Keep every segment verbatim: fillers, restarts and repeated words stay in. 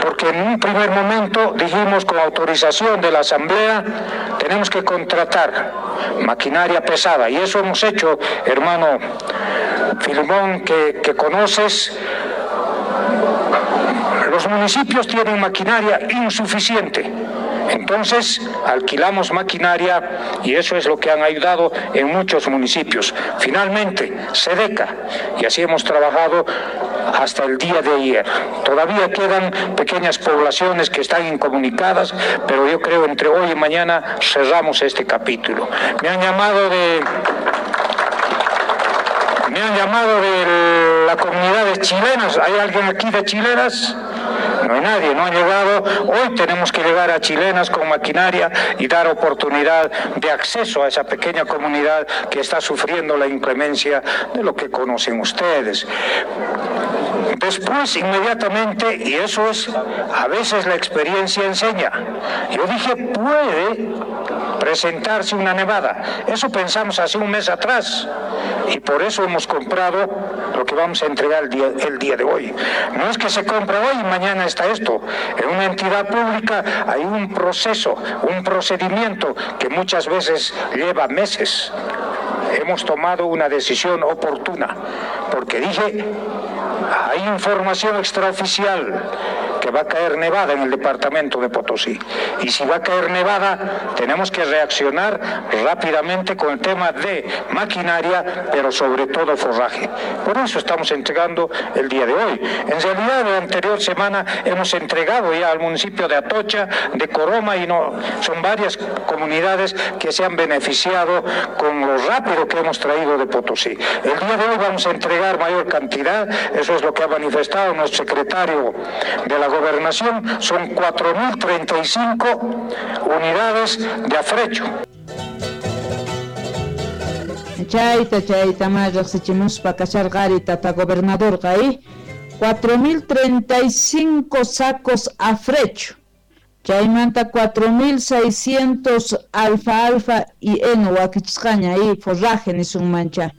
Porque en un primer momento dijimos, con autorización de la Asamblea, tenemos que contratar maquinaria pesada. Y eso hemos hecho, hermano Filimón, que, que conoces. Los municipios tienen maquinaria insuficiente. Entonces alquilamos maquinaria y eso es lo que han ayudado en muchos municipios. Finalmente, SEDECA, y así hemos trabajado hasta el día de ayer. Todavía quedan pequeñas poblaciones que están incomunicadas, pero yo creo entre hoy y mañana cerramos este capítulo. Me han llamado de... Me han llamado de la comunidad de chilenas. ¿Hay alguien aquí de chilenas? No hay nadie, no han llegado. Hoy tenemos que llegar a chilenas con maquinaria y dar oportunidad de acceso a esa pequeña comunidad que está sufriendo la inclemencia de lo que conocen ustedes. Después, inmediatamente, y eso es, a veces la experiencia enseña. Yo dije, puede presentarse una nevada. Eso pensamos hace un mes atrás. Y por eso hemos comprado lo que vamos a entregar el día, el día de hoy. No es que se compra hoy y mañana está esto. En una entidad pública hay un proceso, un procedimiento que muchas veces lleva meses. Hemos tomado una decisión oportuna, porque dije, hay información extraoficial que va a caer nevada en el departamento de Potosí. Y si va a caer nevada, tenemos que reaccionar rápidamente con el tema de maquinaria, pero sobre todo forraje. Por eso estamos entregando el día de hoy. En realidad, la anterior semana hemos entregado ya al municipio de Atocha, de Coroma, y no, son varias comunidades que se han beneficiado con lo rápido que hemos traído de Potosí. El día de hoy vamos a entregar mayor cantidad, eso es lo que ha manifestado nuestro secretario de la Gobernación, son cuatro mil treinta y cinco unidades de afrecho. Chayta, chayta, más riqsichimuspa kasharqari tata gobernadorqa ahí cuatro mil treinta y cinco sacos afrecho. Chaymanta cuatro mil seiscientos alfalfa y heno wakichisqaña ahí forraje nisunmancha.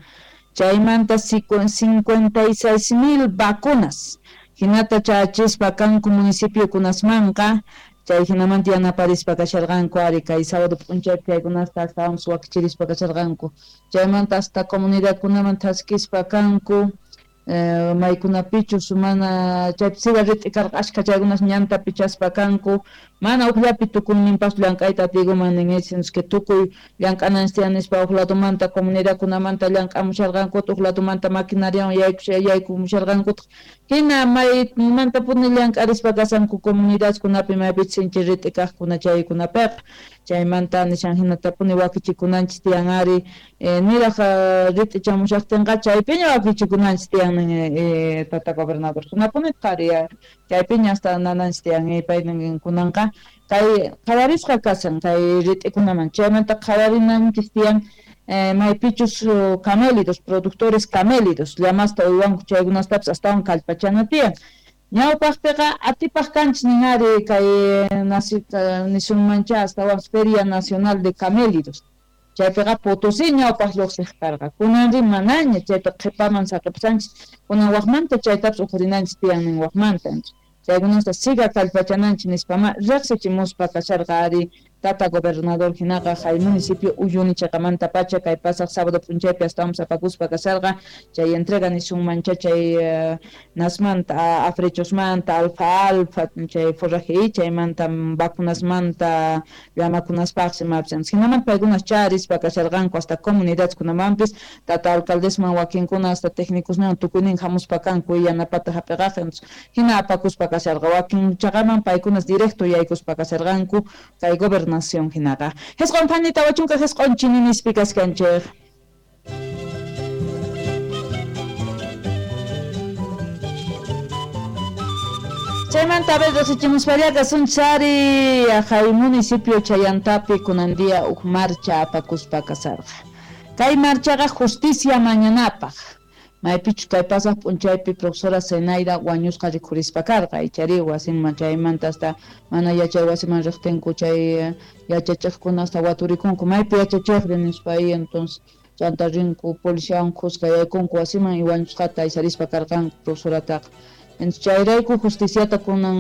Chaymanta cincuenta y seis mil vacunas. Hinata chachispa kanku municipio kunasmanqa, chay hinamanta yanaparispa kasharqanku ari kay sábado p'unchaypi chaykunasta astawanpas wakichirispa kasharqanku. Chaymanta hasta comunidadkunaman thaskispa kanku, eh, maykunapichus mana chaypi siga rit'i karqa ashka chaykunas ñanta pichaspa kanku, mana ujllapi tukuyninpas llank'ayta atiykuman nin que tukuy llank'ananchis tiyan nispa uj ladomanta comunidadkunamanta llank'amusharqankutaq, uj ladomanta maquinariawan yaykumusharqankutaq, hina maymantapuni llank'arispa kashanku comunidadkunapi maypichus sinchi rit'i kaqkuna chaykunapiqa. Chaymanta nishan hinatapuni wakichikunanchis tiyan ari eh, niraq rit'i chamushaqtinqa chaypiña wakichikunanchis tiyan eh, tata gobernador kunapunitaq ari chaypiña hasta nananchis tiyan paynin kunanqa kay qhawarisqa kashan kay rit'ikunaman. Chaymanta qhawarinanchis tiyan eh, maypichus camélidos, productores camélidos llamasta uywanku chaykunastapis astawan kallpachana tiyan. Ñawpaqpiqa atipaq kanchis nin ari kay nisunmancha astawan Feria Nacional de Camélidos. Chaypiqa Potosí ñawpaq lluqsiq karqa. Kunanri manaña chayta qhipaman saqipsanchis. Kunan waqmanta chaytapas uqrinanchis tiyan nin waqmanta. Chaykunasta siga kallpachananchis nispama riqsichimuspa kasharqa ari tata gobernador hinaqa hay municipio Uyuni chaqamanta pacha kay pasaq sábado p'unchaypi astawan apakuspa kasharqa chay entrega nisunmancha chay uh, nasmanta afrechosmanta alfalfa chay forraje chaymanta vacunasmanta llamakunaspaqsi mapsan hinamanta paykunas charispa kasharqanku hasta comunidadkunamanpis tata alcaldesman wakinkuna hasta técnicosman tukuynin hamuspa kanku yanapata hap'iqaq hina apakuspa kasharqa wakin chaqaman paykunas directo yaykuspa kasharqanku kay gobernador nación hinaqa. Hesqon phani tawa chunka hesqon chininispi kaskanchej. Chaymanta a ver riqsichimuspallaqa sunchari hay municipio Chayantapi kunan día uj marcha apakuspa kasarqa. Kay marchaqa justicia mañanapaq. Maypichus kay pasaq p'unchaypi profesora Zenaida wañusqa rikhurispa karqa ichari wasinman chaymanta hasta mana yachay wasiman riqtinku chay yachachiqkuna hasta waturikunku maypi yachachiqri nispa ahí entonces chanta rinku policiawan khuska yaykunku wasiman y wañusqata aysarispa karqanku profesorataqa. Entonces chayrayku justiciata kunan